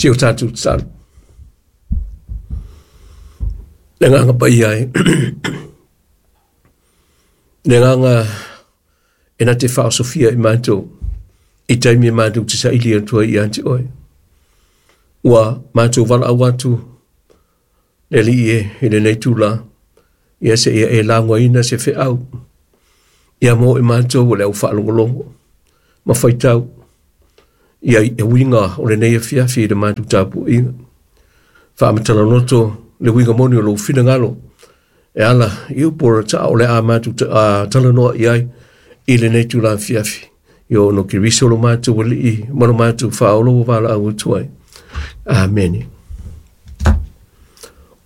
Si o tatou tatalo. Le agaga paia e. Le agaga e na te whaosofia i mātou i taimi e mātou te saili atu ai ia te oe. Ua mātou walaau atu le alii e i lenei tula, ia se ia e lagoaina se feau ia mo i mātou o le au whaalongolongo ma whaitau ia i uiga o lenei afiafi i le mātou tapuaiga. Faamatala loto le uiga moni o lou finagalo e ala i upu o le taa o le a mātou talanoa i ai i lenei tula afiafi. I o no Keriso lo mātou alii ma lo mātou whaolo o walaau atu ai. Amene.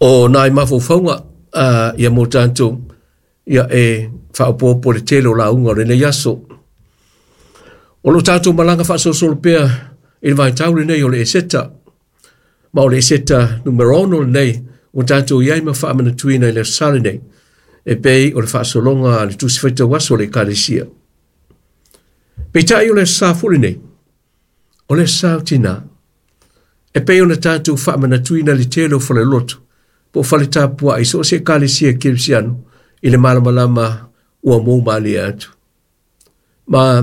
O nai mafaufauga ia mo tātou ia e whaopopo le tele o lauga o lenei aso. O lo tātou malaga faasolosolo pea i le vaitau lenei o le Eseta. Ma o le Eseta numero 6 lenei ua tātou i ai ma faamanatuina i le aso Sa lenei e pei o le faasologa a le Tusi Faitau Aso o le Ekalesia. Peitai o le aso Sa foi lenei, o le aso Sa o tinā. E pei ona tātou faamanatuina le tele o falelotu po o fale tapuai so o se Ekalesia Kerisiano i le malamalama ua mou malie atu. Ma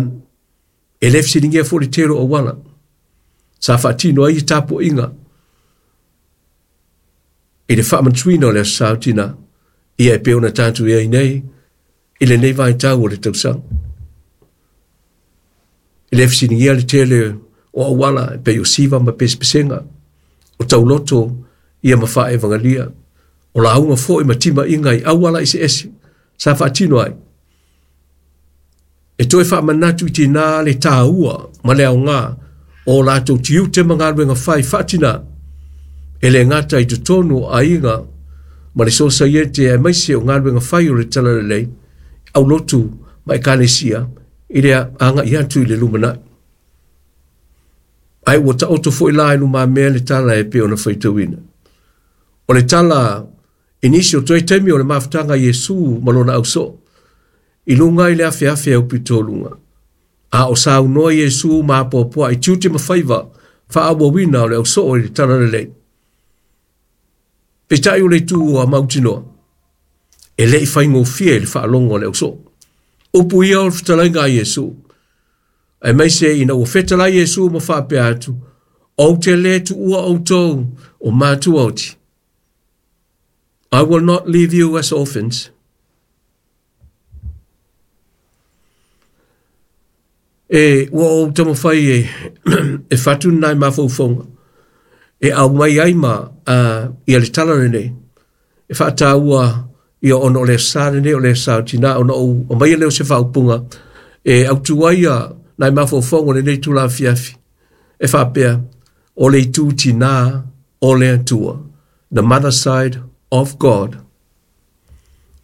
e le fesiligia foi le tele o auala sa faatino ai tapuaiga i le faamanatuina o le aso Sa o tinā ia e pei ona tatou i ai nei i lenei vaitau o le tausaga. E le fesiligia le tele o auala e pei o siva ma pesepesega, o tauloto ia ma faaevagalia, o lauga foi ma timaiga i auala eseese sa faatino ai. E toe faamanatu i tinā le tāua ma le aoga o latou tiute ma galuega fai faatinā e le gata i totonu o aiga ma le sosaiete aemaise o galuega fai o le talalelei, aulotu ma ekalesia i le agai atu i le lumanai. Ae ua taoto foi la i lumamea le tala e pei ona faitauina. O le tala i nisi o toe taimi o le mafutaga a Iesu ma lona ausoo, i luga i le afeafe aupito luga. A o saunoa Iesu ma apoapoai i tiute ma faiva faaauauina o le ausoo i le talalelei. Peitai o le itu ua mautinoa, e le i faigofie i le faalogo a le ausoo. Upu ia o le fetalaiga a Iesu. Aemaise ina ua fetalai Iesu ma faapea atu, ou te le tuua outou o matua oti. I will not leave you as orphans. E ua ou taumafai e, e fatu nai mafaufauga e aumai ai ma ia le tala lenei e faataua ia ona o le aso Sa lenei o le aso Sa o tinā ona ou aumaia lea o se faaupuga e autu ai ia nai mafaufauga o lenei itula afiafi e faapea o le itu tinā o le Atua, the mother side of God.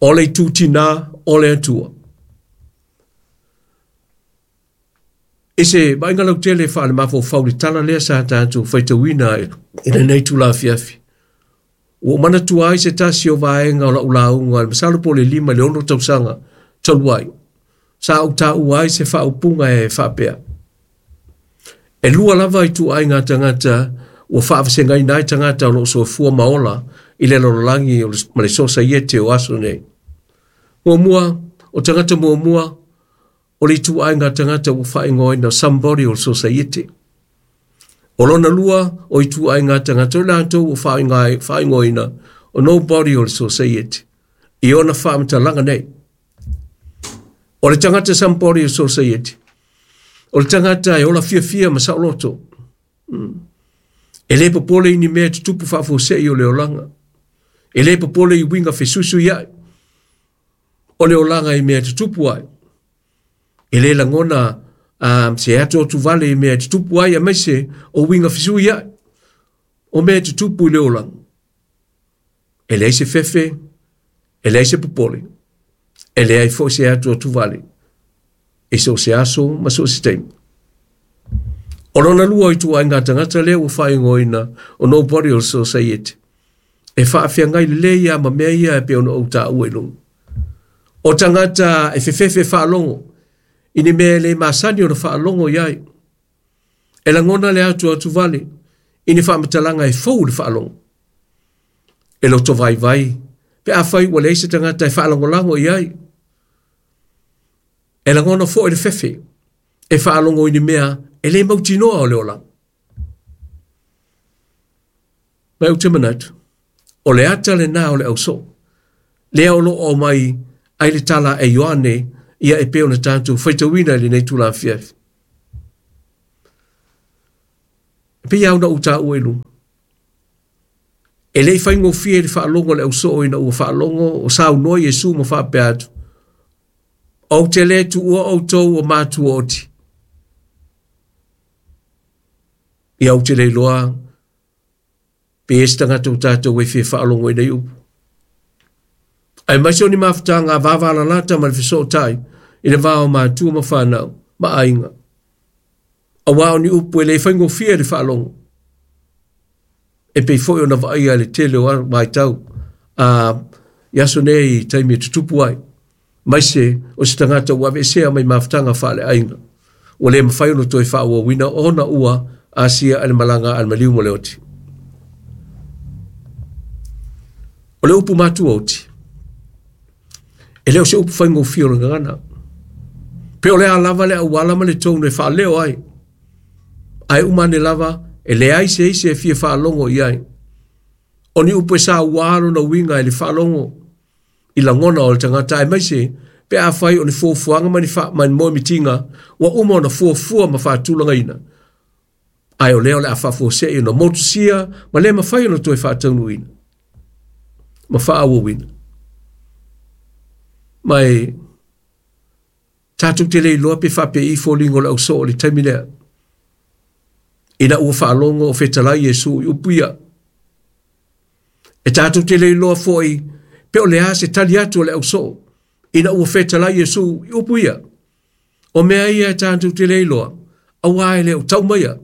O le itu tinā o le Atua. I se vaaiga lautele faalemafaufau le tala lea sa tatou faitauina i lenei itula afiafi. Ua ou manatua ai se tasi o vaega o lau lauga masalo po o le 5 i le 6 tausaga talu ai. Sa ou taua ai se faaupuga e faapea. E lua lava ituaiga tagata ua faavasegaina ai tagata o lo o soifua ma ola i le lalolagi ma le sosaiete o aso nei. Muamua, o tagata muamua, o le ituaiga tagata ua faaigoaina somebody o le sosaiete. O lona lua, o ituaiga tagata o latou ua faaigoaina o nobody o le sosaiete. I ona faamatalaga nei. O le tagata somebody o le sosaiete, o le tagata e ola fiafia ma saoloto. E le popole i ni mea tutupu faafuasei o le olaga. E le popole i uiga fesuisuiai o le olaga i mea tutupu ai. E le lagona se atuatuvale i mea tutupu ai aemaise o uiga fesuiai o mea tutupu i le olaga. E leai se fefe, e leai se popole, e leai foi se atuatuvale i so o se aso ma so o se taimi. O lona lua ituaiga tagata lea ua faaigoaina o nobody o le sosaiete. E faafeagai lelei ia ma mea ia e pei ona ou taua i luga. O tagata e fefefe faalogo i ni mea e le masani ona faalogo i ai. E lagona le atuatuvale i ni faamatalaga e fou i le faalogo. E loto vaivai pe afai ua leai se tagata e faalagolago i ai. E lagona foi le fefe e faalogo i ni mea e le mautinoa o le olaga. Ma ou te manatu, o le ata lenā o le ausoo, lea o lo o aumai ai le tala a Ioane ia e pei ona tatou faitauina i lenei itula afiafi. E pei lava ona ou taua i luga, e le i faigofie i le faalogo a le ausoo ina ua faalogo o saunoa Iesu ma faapea atu, Ou te le tuua outou o matua oti. Ia ou te le iloa pe i ai se tagata o tatou e fia faalogo i nei upu. Aemaise o ni mafutaga vavalalata ma le fesootai i le va o matua ma fanau ma aiga. Auā o ni upu e le faigofie le faalogo. E pei foi ona vaaia i le tele o vaitau a i aso nei i taimi e tutupu ai, aemaise o se tagata ua aveesea mai mafutaga faaleaiga, ua le mafai ona toe faaauauina ona ua asia e le malaga a le maliu ma le oti. O le upu matua oti, e le o se upu faigofie o le gagana. Pe o le a lava le auala ma le tonu e faaleo ai, ae uma ane lava e leai se isi e fia faalogo i ai. O ni upu e saua lona uiga i le faalogo i lagona o le tagata aemaise pe afai o ni fuafuaga ma ni ma ni moemitiga ua uma ona fuafua ma faatulagaina, ae o lea o le a faafuasei ona motusia ma le mafai ona toe faataunuuina ma faaauauina. Ma e tatou te le iloa pe faapei foliga o le ausoo i le taimi lea, ina ua faalogo o fetalai Iesu i upu ia. E tatou te le iloa foi pe o le a se tali atu a le ausoo ina ua fetalai Iesu i upu ia. O mea ia e tatou te le iloa, auā e le o tau maia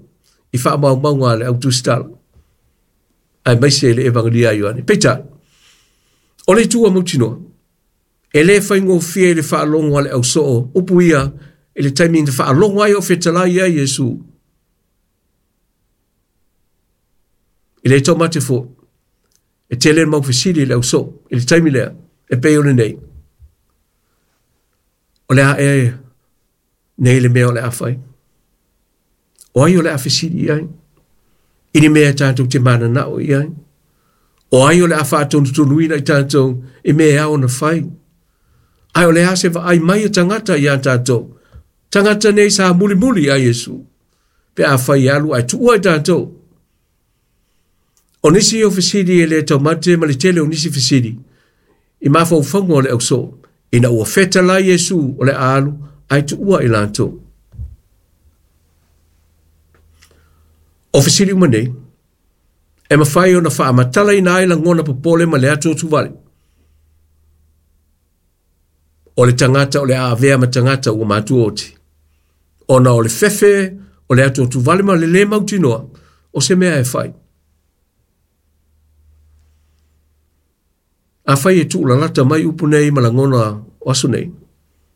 i faamaumauga a le au tusitala, aemaise le Evagelia a Ioane. Peitai, o le itu a mautinoa, e le faigofie i le faalogo a le ausoo upu ia i le taimi na faalogo ai o fetalai ai Iesu. E le taumate foi, e tele le mau fesili i le ausoo i le taimi lea, e pei o lenei. O le a ea nei le mea o le a fai? O ai o le a fesili i ai? I ni mea e tatou te mananao i ai? O ai o le a faatonutonuina i tatou i mea e ao ona fai? Ae o le a se vaai mai a tagata iā tatou? Tagata nei sa mulimuli ia Iesu, pe afai e alu ae tuua i tatou. O nisi o fesili e le taumate ma le tele o nisi fesili i mafaufauga o le ausoo, ina ua fetalai Iesu o le a alu ae tuua i latou. O fesili uma nei, e mafai ona faamatalaina ai lagona popole ma le atuatuvale. O le tagata o le a avea ma tagata ua matua oti, ona o le fefe o le atuatuvale ma le le mautinoa o se mea e fai. Afai e tuulalata mai upu nei ma lagona o aso nei,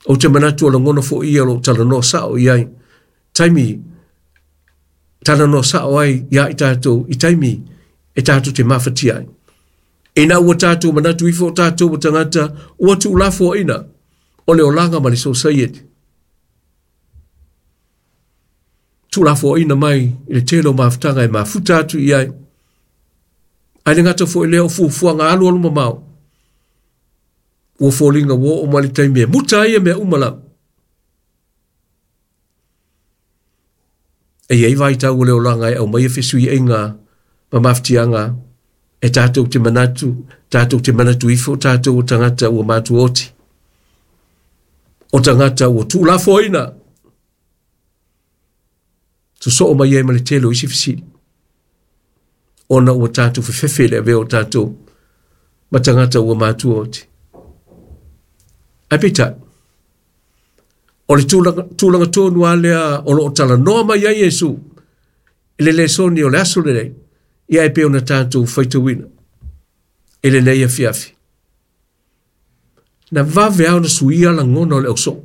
ou te manatu o lagona foi ia o lo o talanoa sao i ai, taimi talanoa sao ai iā i tatou i taimi e tatou te mafatia ai. Ina ua tatou manatu ifo o tatou o tagata ua tuulafoaiina o le olaga ma le sosaiete. Tuulafoaiina mai i le tele o mafutaga e mafuta atu i ai. Ae le gata foi lea o fuafuaga alualu mamao. Ua foliga ua oo mai le taimi e muta ai ia mea uma lava. E i ai vaitau o le olaga e aumaia fesuiaiga ma mafatiaga e tatou te manatu, tatou te manatu ifo tatou o tagata ua matua oti, o tagata ua tuulafoaiina, sosoo mai ai ma le tele o isi fesili, ona ua tatou fefefe i le avea o tatou ma tagata ua matua oti. Ae peitai, o le tulaga, tulaga tonu lava lea o lo o talanoa mai ai Iesu i le lesoni o le aso lenei, ia e pei ona tatou faitauina i lenei afiafi. Na vave lava ona suia lagona o le ausoo.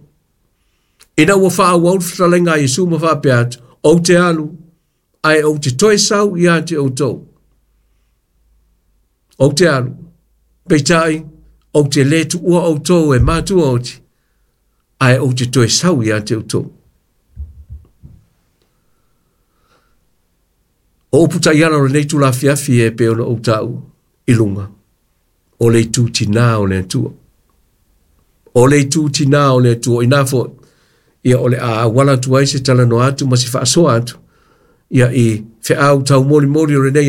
Ina ua faaauau le fetalaiga a Iesu ma faapea atu, ou te alu, Ae ou te toe sau ia te outou. Ou te alu, peitai, ou te lē tuua outou e matua oti, ae ou te toe sau ia te outou. O upu taiala o lenei itula afiafi e pei ona ou taua i luga, o le itu tinā o le Atua. O le itu tinā o le Atua, inā foi, ia o le a auala atu ai se talanoa atu ma se faasoa atu, ia i feau taumolimoli o lenei.